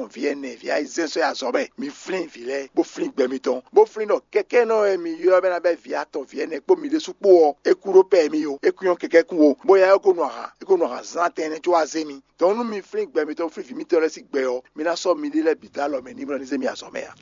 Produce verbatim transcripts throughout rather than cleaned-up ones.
vǐ ɛnɛ vǐ ayizɛ́n sɔ́ yi azɔ̌ mɛ. Mi flín vǐ lɛ́ɛ, bó flín gbɛ mitɔn, bó flín ɖɔ kɛkɛ́nɔ e mi ylɔ́ bɛ ná bɛ́ vǐ atɔn vǐ ɛnɛ kpó mi ɖésú kpó ɔ́, é kú ɖó pɛ mi ó, é kú nyɔ́ kɛkɛ́ kún ó, bó ya é ko nu ahan, é ko nu ahan zán tɛn nɛ́ có wá zé mi. Dɔn nú mi flín gbɛ mitɔn, flín vǐ mitɔn lɛ́ɛ sín gbɛ ɔ́, mi ná sɔ́ miɖée lɛ́ɛ bǐ dó alɔ mɛ ní bló ní zé mi azɔ̌ mɛ ǎ.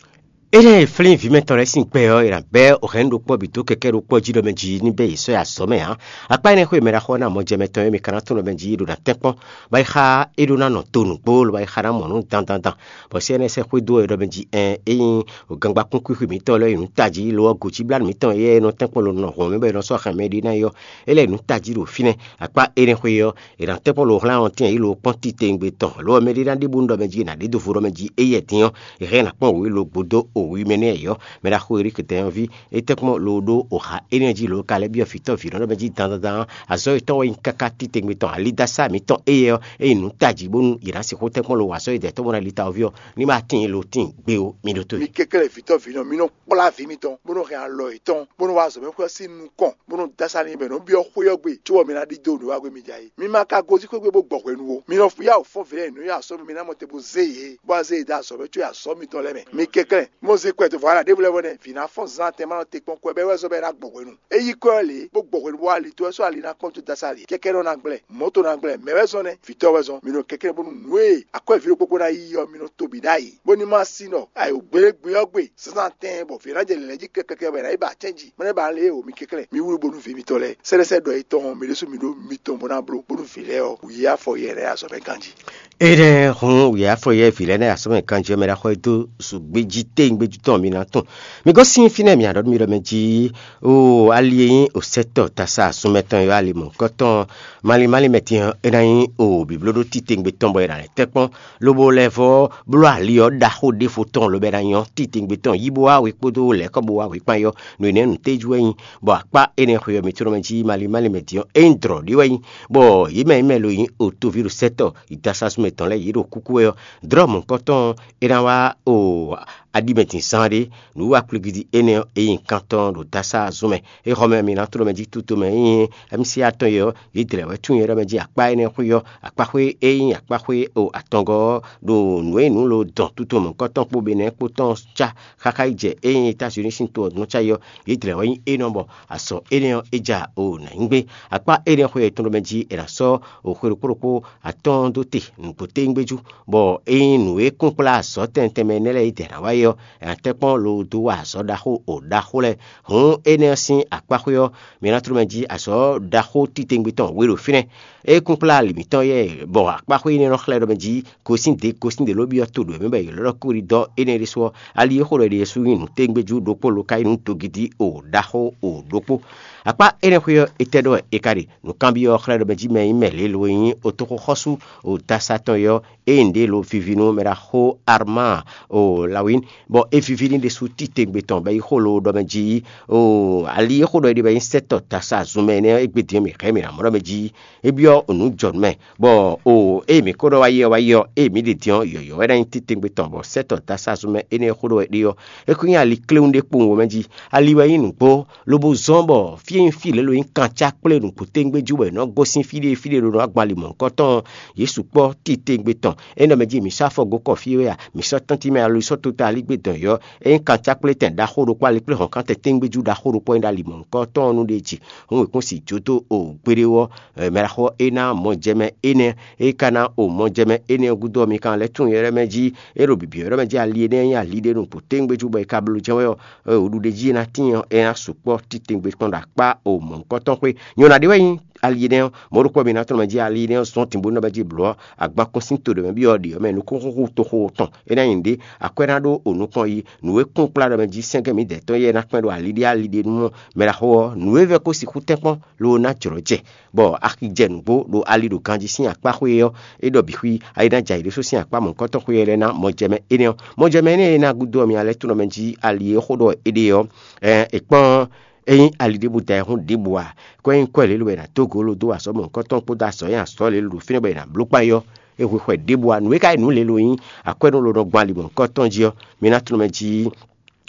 Énɛ́ e flín vǐ mɛtɔn lɛ́ɛ sín gbɛ ɔ́, è nǎ bɛ́ ohɛ̌nnu ɖokpó ɔ́ bǐ dó kɛkɛ́ ɖokpó ɔ́ jí ɖɔ mɛ jí ní bɛ́ yě sɔ́ yi azɔ̌ mɛ ǎ. Akpá énɛ́ xwé e mɛ ɖaxó ɔ́ ná mɔ jɛ mɛtɔn e mi ka ná tunwun ɖɔ mɛ jí ɖo ná tɛ́nkpɔ́n, bɔ é xá é ɖó ná nɔ to nǔgbó, lobo é xá ná mɔ nǔ dandandan. Bɔ sɛ́ énɛ́ sɛ́ xwedó wɛ ɖɔ mɛ jí ɛn ényí gangba kún kwíxwi mǐtɔn lɛ́ɛ yi nǔ tají, lo ɔ́, gǒjíblánú mǐtɔn éyɛ́ e nɔ tɛ́nkpɔ́n lo nɔ hɔn mɛ bɔ è nɔ sɔ́ hɛn mɛ ɖé ná é ɔ́, é lɛ́ yi nǔ tají ɖo fínɛ́. Akpá énɛ́ xwé ɔ́, è nǎ tɛ́nkpɔ́n lo hlán ɔ́ tɛ́n yě lo kpɔ́n titewungbe tɔn, lo ɔ́, mɛ ɖé ná ɖi bónú ɖɔ mɛ jí è nǎ ɖe do vo ɖɔ mɛ jí éyɛ́ din ɔ́, è hɛn ɛ nǎ kpɔ́n wǔ e lo gbodó o wi mɛ nɛ́ ɔ́. Mɛ ɖaxó Erík dɛ́nyɔ́ví, é tɛ́nkpɔ́n lo ɖó oxa énɛ́ jí lo ka lɛ́ byɔ́ vǐtɔ́ vǐnɔ ɖɔ mɛ jí dandandan, azɔ̌ yětɔn wɛ nyí káká titewungbe tɔn, alidásá mǐtɔn éyɛ́ ɔ́, é nyí nǔ tají bónú yě ná sixú tɛ́nkpɔ́n lo wa azɔ̌ e dɛ̌ tɔn bó ná li ta ɔ́ ví ɔ́, ní ma tíin lo tíin gbé ó. Mi ɖótó Mi kɛnklɛ́n vǐtɔ́ vǐnɔ, mi nɔ kplá vǐ mitɔn, bó nɔ hɛn alɔ yětɔn, bó nɔ wá azɔ̌ mɛ xwé ɔ́ sín nukɔn, bó nɔ dó asá n'i bɔ è nɔ byɔ́ xwé ɔ́ gbe, cóbɔ mi ná ɖidó nǔ wa gbe mi jɛ ayé. Mi ma ka gosín xwé gbe bó gbɔ hwenu ó. Mi nɔ yá wǔ fɔ́n vǐ lɛ́ɛ nǔ nyi azɔ̌ mɛ, mi ná mɔ te bó zé yě, bó wá zé yě dó azɔ̌ mɛ có yi azɔ̌ mitɔn lɛ́ɛ mɛ. Mi kɛnklɛ́n, mɔ zé kwɛ dó vɔ̌ ɖěbǔ lɛ́ɛ vɔ nɛ́, vǐ ná fɔ́n zán tɛn ma nɔ te kpɔ́n kwɛ bɔ é wɛ zɔ́n bɔ é ná gbɔ hwenu. É yí kwɛ ɔ́ lě, bó gbɔ hwenu bó wá li tó wɛ sɔ́ ali ná kpɔ́n tó dó asá ali. Kɛkɛ́ nɔ ná gblɛ, mɔ̌ to ná gblɛ, mɛ wɛ zɔ́n nɛ́, vǐtɔ́ wɛ zɔ́n. Mi nɔ kɛnklɛ́n bónú nǔ e akwɛ́ vǐ ɖokpó kpó ná yí ɔ́, mi nɔ to bǐ ɖ'ayǐ, bó ní ma sí nɔ ayǒgblégbé ɔ́ gbe zǎnzǎn tɛɛn bɔ vǐ ná jɛ lɛ̌ jí kɛkɛkɛ bɔ è nǎ yi ba acɛ́ jí. Mɛ nɛ́ ba lě o, mi kɛnklɛ́n, mi wlú bónú vǐ mitɔn lɛ́ɛ. Sɛ́lɛ́sɛ́ ɖɔ yětɔn ɔ́, mi ɖésú mi ɖó mitɔn bó ná bló bónú vǐ lɛ́ɛ ɔ́, wǔ yí afɔ yɛ lɛ́ɛ azɔ̌ mɛ ganjí. Énɛ́ hun wǔ yí afɔ yɛ vǐ lɛ́ɛ nɛ́ azɔ̌ mɛ ganjí ɔ́, mɛ ɖaxó e dó zǔgbéjí téngbéjú tɔn mi ná tunwun. Mi gosín fínɛ́ mi aɖɔ̌ nú mi ɖɔ mɛ jí, oo ali e nyí osɛ́tɔ́ tasa sunmɛ tɔn e ylɔ́ ali mɔ̌hunkɔtɔn malín malín mɛ din ɔ́, é ná nyí o bǐblóɖó titewungbe tɔn bɔ è nǎ lɛ́ tɛ́nkpɔ́n, lobo lɛ́ vɔ́ bló ali ɔ́ ɖaxó ɖěvo tɔn lobɔ é ná nyɔ́ titewungbe tɔn yí bó wá we kpódó lɛ̌kɔ bó wá we kpán yɔ́. Nǔ énɛ́ nǔ téjú wɛ nyí, bɔ akpá énɛ́ xwe ɔ́, mi tlɔ́ mɛ jí malín malín mɛ din ɔ́, é nyí dlɔ̌ ɖé wɛ nyí, bɔ yě mɛ yě mɛ lo nyí otoví ɖo sɛ́tɔ́ yi dasású mɛ tɔn lɛ́ɛ yě ɖo kúkú wɛ ɔ́, dlɔ̌ mɔ̌hunkɔtɔn ɔ́, é ná wá o aɖimɛ din zán ɖé. Nǔwiwa kpligidi énɛ́ ɔ́, é nyí kan tɔn ɖo dasázún mɛ. Éhɔ́mɛ mi ná tló mɛ jí tutomɛ e nyí M C A tɔn e ɔ́, yě dlɛ̌ wɛ tunwun nyɛ ɖɔ mɛ jí akpá énɛ́ xwé ɔ́, akpáxwé e nyí akpáxwé o atɔngɔ́ ɔ́, ɖo nǔ e nyí nǔ lo dɔn tutomɛ kɔ́tɔn kpó Benɛ́ kpó tɔn cá xáxá yi jɛ e nyí Étazini sín to ɔ́ nɔ cá yi ɔ́, yě dlɛ̌ wɛ nyí énɛ́ bɔ azɔ̌ énɛ́ ɔ́, é ja o nǎ nyí gbé. Akpá énɛ́ xwé ɔ́, è tunwun ɖɔ mɛ jí è nǎ sɔ́ o xwe ɖokpó ɖokpó atɔ́ɔ́n dó te nǔgbó téwúngbéjú, bɔ é nyí nǔ e kún kplá azɔ̌ tɛnmɛ tɛnmɛ énɛ́ lɛ́ɛ yi dɛ̌ ná wá é ɔ́, è nǎ tɛ́nkpɔ́n lo dó wa azɔ̌ ɖaxó o ɖaxó lɛ́ɛ. Hǔn énɛ́ ɔ́ sín akpáxwé ɔ́, mi ná tló mɛ jí azɔ̌ ɖaxó titewungbe tɔn we ɖo fínɛ́. É kún kplá ali mǐtɔn yɛ, bɔ akpáxwé énɛ́ nɔ xlɛ́ ɖɔ mɛ jí gosín ɖě gosín ɖě ló byɔ́ to ɖo mɛ bɔ yě lɔ́ ɖɔ kúɖidɔ́ énɛ́ ɖésú ɔ́, ali e xó ɖɔ é ɖe ɖésú nyí nǔ téwúngbéjú ɖokpó lo ka nyí nǔ dogidi o ɖaxó o ɖokpó. Akpá énɛ́ xwé ɔ́, étɛ́ ɖɔ wɛ è ka ɖe? Nǔkanbyɔ́ ɔ́ xlɛ́ ɖɔ mɛ jí mɛ e nyí mɛ lě lo e nyí otoxoxɔ́sú o dasa tɔn é ɔ́, é nyí nǔɖé lo vivi nú mɛ ɖaxó Armáa o Lawín, bɔ é víví n'i ɖésú titewungbe tɔn bɔ é yi xó lo ɖɔ mɛ jí, o ali e xó ɖɔ é ɖe bɔ é nyí sɛ́tɔ́ dasa zunmɛ énɛ́ ɔ́, égbé din ɔ́ mǐ hɛn mǐ ná mɔ ɖɔ mɛ jí é byɔ́ nǔ jɔ nú mɛ, bɔ o ée mǐ ko ɖɔ wá yi ɔ́, wá yi ɔ́, ée mǐ ɖe din ɔ́, yɔ̌yɔ́ wɛ ná nyí titewungbe tɔn, bɔ sɛ́tɔ́ dasa zunmɛ énɛ́ e xó ɖɔ wɛ é ɖe ɔ́, é ko nyí ali kléwún ɖé kpowun wɛ mɛ jí. Ali wɛ nyí nǔgbó, lobo zɔ́n bɔ fí e nyí fí lě lo nyí kan cá kplé nǔgbó téwúngbéjú bɔ è nɔ gosín fí ɖé fí ɖé ɖo nɔ agbali mɔ̌hunkɔtɔn ɔ́, yě sukpɔ́ titewungbe tɔn. É nɔ mɛ jí mǐ sɔ́ afɔ gǒ kɔ fí é a? Mǐ sɔ́ tɔ́ntin mɛ alo sɔ́ tota alígbé dɔn yɔ̌. É nyí kan cá kplé tɛn ɖaxó ɖokpó ali kplé hɔn kan tɛn téwúngbéjú ɖaxó ɖokpó e nyí ɖo ali mɔ̌hunkɔtɔn ɔ́ nu ɖe jí. Hǔn è kún si jó dó o gbeɖé ɔ́, mɛ ɖaxó ɔ́ é ná mɔjɛmɛ énɛ́. É ka ná o mɔjɛmɛ énɛ́ ɔ́ gúdo ɔ́, mi ka lɛ́ tunwun yɛ lɛ́ɛ mɛ jí. É ɖo bǐbí ɔ́ mɛ jí ali énɛ́ nyí ali ɖé nukpó téwúngbéjú bɔ è ka bló jɛ́n wɛ ɔ́, o ɖuɖéjí e ná tíin ɔ́, é ná sukpɔ́ titewungbe kpɔ́n ɖo akpá o mɔ̌hunkɔtɔn xwé. Nyɔ̌ná ɖé wɛ nyí ali énɛ́ ɔ́, mɔ̌ ɖokpó mi ná tlɔ́n mɛ jí ali énɛ́ ɔ́ zɔ́n tǐnbó nɔ mɛ jí blǒ ɔ́, agban kún sín to ɖě mɛ byɔ́ ɖě ɔ́ mɛ nukúnxúxú toxo tɔn. É ná nyí nǔɖé, akwɛ́ ná ɖó o nukɔn yi. Nǔ e kún kplá ɖɔ mɛ jí sɛ́ngɛ́ mǐdɛɛ tɔn yɛ ná kpɛn ɖo ali ɖé ali ɖé nú mɛ ɖaxó ɔ́, nǔ e vɛ́ ko sixú tɛ́nkpɔ́n lo ná jlɔ̌ jɛ, bɔ axi jɛ nǔgbó ɖo ali ɖo ganjí sín akpá xwé ɔ́, é ɖɔ bǐ xwí, ayi ná jɛ ayǐ ɖésú sín akpá mɔ̌hunkɔtɔn xwé ɔ́ lɛ́ɛ ná mɔjɛmɛ énɛ́ ɔ́. Mɔjɛmɛ énɛ́ e ná gúdo ɔ́, mi ná lɛ́ tunwun mɛ jí ali e xó ɖɔ é ɖe ɔ́, ɛ, è kpɔ́n é nyí ali ɖěbǔ da ayihún ɖěbǔ ǎ. Kɔ é nyí kwɛ́ lě lo wɛ è nǎ dó gǒ lo dó wa azɔ̌ mɔ̌hunkɔtɔn kpódó azɔ̌ nyi azɔ̌ lě lo ɖo fínɛ́ bɔ è nǎ bló kpán yɔ́. É hwe xwɛ ɖěbǔ ǎ. Nǔ e ka nyí nǔ lě lo nyí akwɛ́nú lo nɔ gbɔn ali mɔ̌hunkɔtɔn jí ɔ́, mi ná tunwun mɛ jí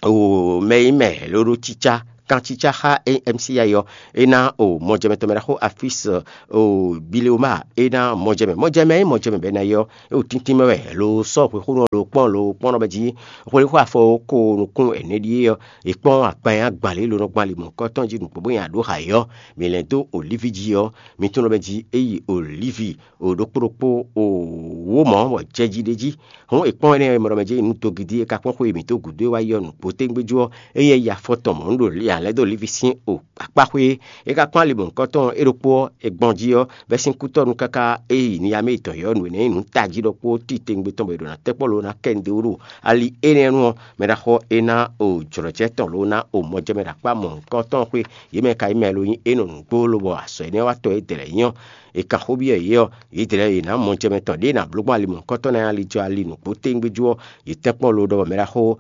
o mɛ e nyí mɛ ló ɖó cícá kancícá xá M C I ɔ́, é ná o mɔjɛmɛ tɔn mɛ ɖaxó Afis o Bileoma, é ná mɔjɛmɛ. Mɔjɛmɛ é mɔjɛmɛ bɛ́ ná yi ɔ́, é o tíntín mɛ wɛ lo sɔ́ xwexónɔ lo kpɔ́n lo kpɔ́n nɔ mɛ jí. Xwexó afɔ ko nukún ɛnɛ ɖíe ɔ́, è kpɔ́n akpan e agban lě lo nɔ gban ali mɔ̌hunkɔtɔn jí nǔgbó bó nya ɖó ha é ɔ́, mǐ lɛ́ dó olívi jí ɔ́, mi tún nɔ mɛ jí é yi olívi o ɖokpó ɖokpó o wǒ mɔ̌ bɔ jɛ jí ɖ'é jí. Hǔn è kpɔ́n énɛ́ e mɛ ɖɔ mɛ jɛ nǔ dogidi e ka kpɔ́n xwe mǐtɔn gǔdo e wá yi ɔ́ nǔgbó tégbéjú ɔ́, é nyí ya afɔ tɔn mɔ̌ un ɖo ya lɛ́ dó Livi sín o akpáxwé é. É ka kpɔ́n ali mɔ̌hunkɔtɔn e ɖokpó ɔ́, è gbɔn jí ɔ́, bɛ́ sín kútɔ́nu káká é yi niya mɛ yětɔn yɔ̌ nǔ énɛ́ nyí nǔ tají ɖɔkpó tíi tégbé tɔn bɔ è ɖo ná tɛ́ kpɔ́ lo ná kɛ nu dó ɖo ali énɛ́ nu ɔ́, mɛ ɖaxó é ná o jlɔ̌jɛ tɔn lo ná o mɔjɛmɛ ɖo akpá mɔ̌hunkɔtɔn xwé. Yě mɛ ka nyí mɛ lo nyí é nɔ nǔgbó lobɔ azɔ̌ énɛ́ wa tɔn é dɛ lɛ̌ nyí ɔ́, è kan xó byɔ́ yě ɔ́, yě dlɛ̌ yě ná mɔjɛmɛ tɔn ɖěe è nǎ bló gbɔn ali mɔ̌hunkɔtɔn ná nyi ali jɔ ali nǔgbó tégbéjú ɔ́, yě tɛ́nkpɔ́n lo ɖɔ bɔ mɛ ɖaxó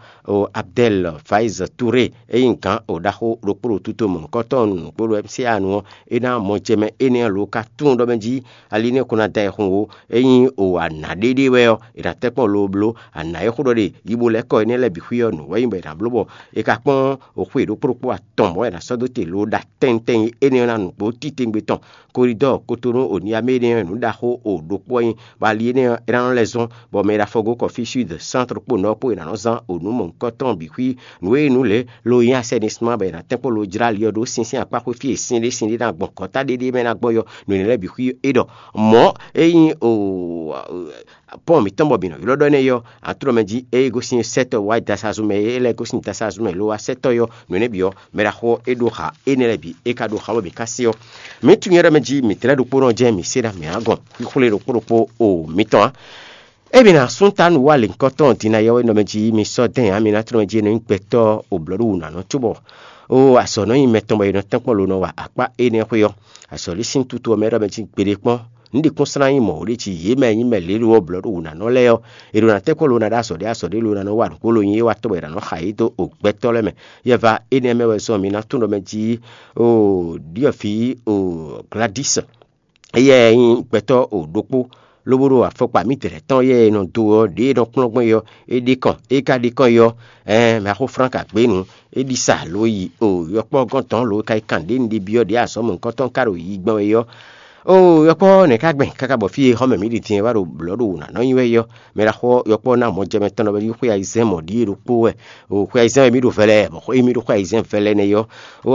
Abdɛl Faiz Ture e nyí gǎn ɖaxó ɖokpó ɖo tuto mɔ̌hunkɔtɔn nǔgbó ɖo M C A nu ɔ́, é ná mɔjɛmɛ énɛ́ ɔ́ lo ka tunwun ɖɔ mɛ jí ali nɛ́ ko ná da ayihún ó. Ényí o ana ɖéɖé wɛ ɔ́, è nǎ tɛ́nkpɔ́n lo bló ana e xó ɖɔ ɖe yi bo lɛ́ kɔ énɛ́ lɛ́ɛ bǐ xwí ɔ́ nǔ wɛ nyí bɔ è nǎ bló bɔ è ka kpɔ́n o xwe ɖokpó ɖokpó atɔn mɔ̌ è nǎ sɔ́ dó te lo ɖo atɛnutɛn énɛ́ ɔ́ ná nǔgbó títewungbe tɔn. Koridɔ́ɔ Kotonu o Niamé énɛ́ ɔ́, nǔ ɖaxó o ɖokpó wɛ nyí, bɔ ali énɛ́ ɔ́, é ná nɔ lɛ́ zɔ́n, bɔ mɛ e ɖo afɔgó kɔ fí Súd, Sántre kpó Nɔ̌ kpó è nǎ nɔ zán o nǔ mɔ̌hunkɔtɔn bǐ xwí. Nǔ e nyí nǔ lě lo nyí asɛ́nisma bɔ è nǎ tɛ́nkpɔ́n lo jlá ali ɔ́ ɖó sínsɛ́n akpá xwé fí e sin ɖé sin ɖé ná gbɔn kɔ́ ta ɖéɖé mɛ ná gbɔn yɔ nǔ énɛ́ lɛ́ɛ bǐ xwí é ɖɔ. Mɔ̌ e nyí o pɔ́n mǐtɔn bɔ mǐ nɔ ylɔ́ ɖɔ énɛ́ yɔ, atlɔ́mɛ jí ée gosín sɛ́tɔ́ wá dasazun mɛ, é lɛ́ gosín dasazun mɛ lo wá sɛ́tɔ́ yɔ nǔ énɛ́ bǐ ɔ́, mɛ ɖaxó ɔ́, é ɖó xa énɛ́ lɛ́ɛ bǐ é ka ɖó xa bɔ mǐ ka se ɔ́. Mǐ tunwun yɛ ɖɔ mɛ jí mǐ tlɛ́ ɖokpónɔ jɛ́n mǐ se ná mǐ ná gɔn xwíxwlé ɖokpó ɖokpó o mǐtɔn ǎ. Ée mǐ ná sún ta nǔ wa lěhunkɔtɔn din ná yɔ́wɛ́ nɔ mɛ jí mi sɔ́ dɛn ǎ, mi ná tlɔ́ mɛ jí nɔ nyí gbɛtɔ́ o blɔ̌ɖówǔnánɔ cóbɔ o azɔ̌ nɔ nyi mɛ tɔn bɔ è nɔ tɛ́nkpɔ́n lo nɔ wa akpá énɛ́ xwé ɔ́. Azɔ̌ ɖé sín tutu ɔ́ mɛ ɖɔ mɛ jí gbeɖé kpɔ́n. Nǔ ɖi kún slán nyí mɔ̌ ɖě jí yě mɛ nyí mɛ lě lo ɔ́ blɔ̌ɖówǔnánɔ lɛ́ɛ ɔ́, è ɖo ná tɛ́nkpɔ́n lo ná ɖó azɔ̌ ɖé azɔ̌ ɖé lo ná nɔ wa nǔgbó lo nyi é wá tɔ́ bɔ è nǎ nɔ xa yě dó o gbɛtɔ́ lɛ́ɛ mɛ. Yɛ va énɛ́ mɛ wɛ zɔn mi ná tunwun ɖɔ mɛ jí o ɖiɔ̌ví o Gladis. Éyɛ́ nyí gbɛtɔ́ o ɖokpó, lobo ɖo afɔkpa mǐtɛn tɔn yɛ e nɔ do ɔ́, ɖě e nɔ kplɔ́n gbɔn é ɔ́, é ɖe kɔn. É ka ɖe kɔn é ɔ́, ɛɛ mɛ axó Flánk agběnu, é ɖi sa lo yi o yɔkpɔ́ gɔ́n tɔn lo ka yi kan ɖě un ɖe byɔ́ ɖě azɔ̌ mɔ̌hunkɔtɔn ka ɖo yi gbɔn wɛ é ɔ́. O yɔkpɔ́ nɛ̌ ka gbɛn káká bɔ fí e xɔ́mɛ mǐ ɖi din wɛ wá ɖo blɔ̌ ɖo wǔ ná nɔ nyi wɛ é ɔ́, mɛ ɖaxó yɔkpɔ́ ná mɔjɛmɛ tɔn nɔ wɛ yi xwé ayizɛ́n mɔ̌ ɖíe ɖokpó wɛ. O xwé ayizɛ́n wɛ mǐ ɖo vɛlɛ, bɔ xwé e mǐ ɖo xwé ayizɛ́n vɛlɛ nɛ́ é ɔ́, o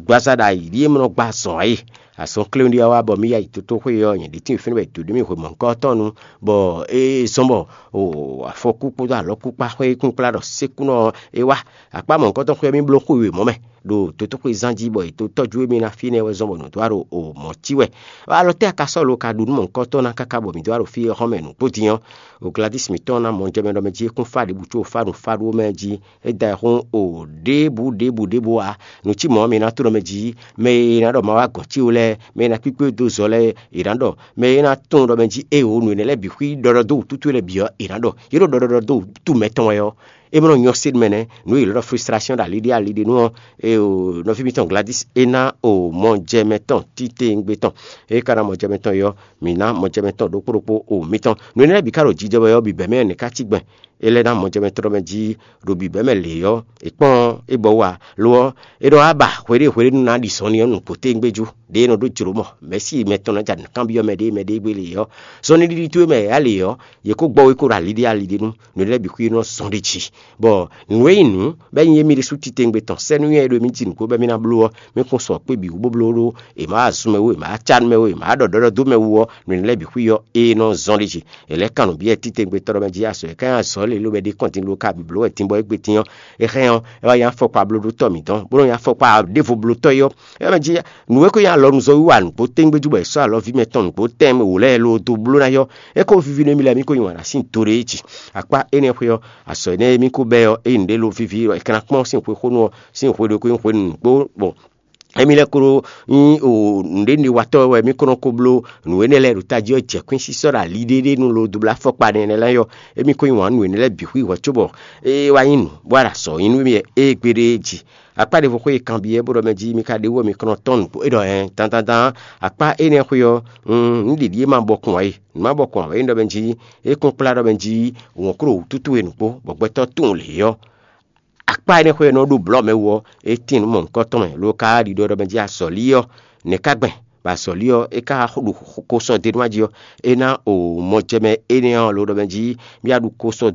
gbazá ɖo ayǐ ɖíe mɔ nɔ gba azɔ̌ ǎ é. Azɔn kléwún ɖé ɔ́ wá bɔ mǐ yi ayǐtótóxwé ɔ́, nyɛ ɖě tíin fínɛ́ bɔ è dǒ ɖó mì hwe mɔ̌hunkɔtɔn nu, bɔ é zɔ́n bɔ o afɔkú kpódó alɔkúkpá xwé kúnkplá ɖɔ sékúnɔ ɔ́ é wá. Akpá mɔ̌hunkɔtɔn xwé ɔ́, mì bló xwe wěmɔ́ mɛ ɖo dotóxwé zán jí, bɔ è dó tɔ́jú émí ná fínɛ́ wɛ zɔ́n bɔ nǔ dó wá ɖo o mɔ̌ cí wɛ. Alɔ tɛ́ a ka sɔ́ lo ka ɖu nú mɔ̌hunkɔtɔn ná káká bɔ mǐ dó wá ɖo fí e xɔ́mɛ nǔgbó din ɔ́? O Gladis mǐtɔn ná mɔ jɛ mɛ ɖɔ mɛ jí é kún fá ɖěbǔ có fá nǔ fá ɖó mɛ jí. É da ayǐ xó o ɖěbǔ ɖěbǔ ɖěbǔ ǎ. Nǔ cí mɔ̌ mi ná tló mɛ jí, mɛ e ná ɖɔ ma wá gɔ̌n cí ó lɛ́ɛ, mɛ e ná kpíkpé dó zɔ lɛ́ɛ, è nǎ ɖɔ, mɛ e ná tunwun ɖɔ mɛ jí ée o nǔ énɛ́ lɛ́ɛ bǐ xwí ɖɔɖɔ dó wǔtútú lɛ́ɛ bǐ ɔ́, è nǎ ɖɔ. Yě ɖo ɖɔɖɔ dó wǔtú mɛtɔn wɛ ɔ́, é mɔ nɔ nyɔ́ sé mɛ nɛ́, nǔ e yě lɔ́ ɖɔ frustration ɖo ali ɖé ali ɖé nú ɔ́, e o nɔví mitɔn Gladis é ná o mɔjɛmɛ tɔn títewungbe tɔn. É ka ná mɔjɛmɛ tɔn yɔ, mǐ ná mɔjɛmɛ tɔn ɖokpó ɖokpó o mitɔn. Nǔ énɛ́ lɛ́ɛ bǐ ka ɖo jijɛ wɛ ɔ́, bǐ bɛ̌ mɛ nɛ̌ ká cí gbɛn? É lɛ́ ná mɔjɛmɛ tɔn mɛ jí ɖo bǐbɛ́ mɛ lě ɔ́, è kpɔ́n é bɔ wá. Lo ɔ́, é ɖɔ á ba hweɖée hweɖénu ná ɖi zɔnlin ɔ́ nukún tégbéjú, ɖě é nɔ ɖó jlǒ mɔ, mɛ̌si mɛtɔn ná ja nǔ kanbyɔ́ mɛ ɖé mɛ ɖé gbé lě ɔ́. Zɔnlin ɖiɖi towe mɛ yě ǎ lě ɔ́, yě kó gbɔ wé kó ɖo ali ɖé ali ɖé nu, nǔ lɛ́ɛ bǐ xwí nɔ zɔn ɖ'é jí. Bɔ nǔ e nyí nǔ, bɔ é nyí émí ɖésú titewungbe tɔn, sɛ́núnywɛ́ e ɖo émí jí nǔgbó bɔ émí ná bló ɔ́, mí kún sɔ kpé bǐ wú bó bló ɖó è má wa zun mɛ wú, è má wa cá nú mɛ wú, è má wa ɖɔ ɖɔɖɔ dó mɛ wú ɔ́, nǔ lɛ́ɛ bǐ xwí ɔ́, é nɔ zɔn ɖ'é jí. È lɛ̌ kan nǔ byɔ́ titewungbe tɔn ɖɔ mɛ jí azɔ̌ e ká nyí azɔ̌ lě ló wɛ ɖe kɔn din lo ka bǐ bló wɛ din bɔ égbé din ɔ́, é hɛn ɔ́, é wá nyí afɔkpa blóɖótɔ́ mǐtɔn, bó nɔ́ nyí afɔkpa ɖěvo blótɔ́ é ɔ́. É mɛ jí nǔ e ko nyí alɔnuzɔ́wiwa nǔgbó tégbéjú bɔ è sɔ́ alɔví mɛtɔn nǔgbó tɛn mɛ wǒ lɛ́ɛ lo dó bló ná yɔ́. É ko víví nú émí lɛ́ɛ mí ko nyi wǎn ná sín do ɖé jí. Akpá énɛ́ xwé ɔ́, azɔ̌ énɛ́ e mí ko bɛ́ ɔ́, ényí nǔɖé lo víví ɔ́, è ka ná kpɔ́n sín xwexónú ɔ́, sín xwe ɖokpó nyí xwe nǔgbó bɔ émí lɛ́ ko ɖó nyí o nǔɖénúɖéwatɔ́ wɛ mí ko nɔ ko bló nǔ énɛ́ lɛ́ɛ ɖo tají ɔ́ jɛ kwín sísɔ́ ɖo ali ɖéɖé nu lo dó bló afɔkpa nɛnɛ lɛ́ɛ yɔ. Émí ko nyi wǎn nú nǔ énɛ́ lɛ́ɛ bǐ xwí hwɛ̌ cóbɔ é wá nyí nǔ bó wá ɖo azɔ̌ nyí nú mì wɛ égbéɖé jí. Akpá ɖěvo xwé e kanbyɔ́ bó ɖɔ mɛ jí mí ka ɖe wú ɔ́, mi kɔn nɔ tɔ́n nǔgbó é ɖɔ hɛn dandandan. Akpá énɛ́ xwé ɔ́, un ɖiɖi é ma bɔkun ǎ é, nǔ ma bɔkun ǎ é ɖɔ mɛ jí é kún kplá ɖɔ mɛ jí wɔ̌n klo wǔtútú e nǔgbó bɔ gbɛtɔ́ tunwun lě ɔ́. Akpá énɛ́ xwé e nɔ ɖo blɔ̌ mɛ wú ɔ́, é tín nǔ mɔ̌hunkɔtɔn mɛ, ló ka ɖiɖɔ ɖɔ mɛ jí azɔ̌lí ɔ́, nɛ̌ ka gbɛn? Bɔ azɔ̌lí ɔ́, é ka ɖo kosɔ́ d'é nú jí ɔ́, é ná o mɔjɛmɛ énɛ́ ɔ́, ló ɖɔ mɛ jí bó yá ɖu kosɔ́